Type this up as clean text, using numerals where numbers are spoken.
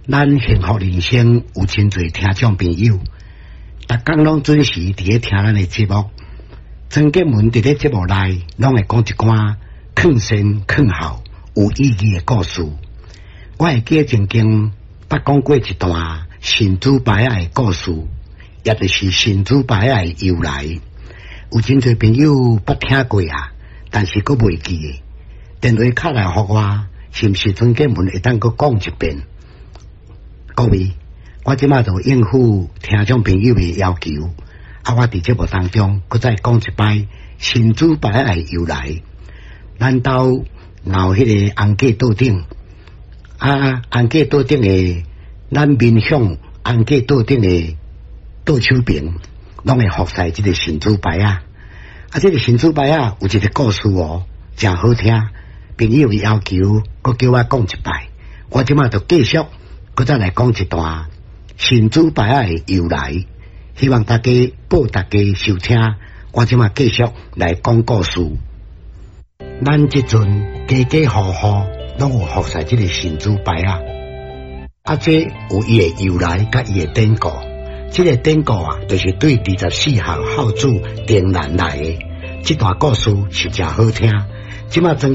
咱幸福人生有真濟聽眾朋友，逐工攏準時佇咧聽咱的節目。曾建文佇咧節目內攏會講一寡勸善勸孝有意義的故事。我會記得曾經捌講過一段神主牌仔的故事，也就是神主牌仔的由來。有真濟朋友捌聽過啊，但是閣袂記得。電話敲來予我，是毋是曾建文會當閣講一遍？各位，我這馬就應付聽眾朋友的要求，啊，我佇節目當中閣再講一擺神主牌仔的由來。咱兜𠢕彼个紅粿桌頂，啊，紅粿桌頂的咱面向紅粿桌頂的桌手爿，攏會服侍這个神主牌仔。啊，這个神主牌仔有一个故事哦，誠好聽。朋友的要求，閣叫我講一擺，我這馬就繼續閣再來講一段神主牌仔的由來，希望大家報大家收聽。我這馬繼續來講故事。咱這陣家家戶戶攏有服侍這个神主牌仔，啊，這有伊的由來佮伊的典故。這个典故啊，就是對24孝孝子丁蘭來的。這段故事是誠好聽。這馬曾。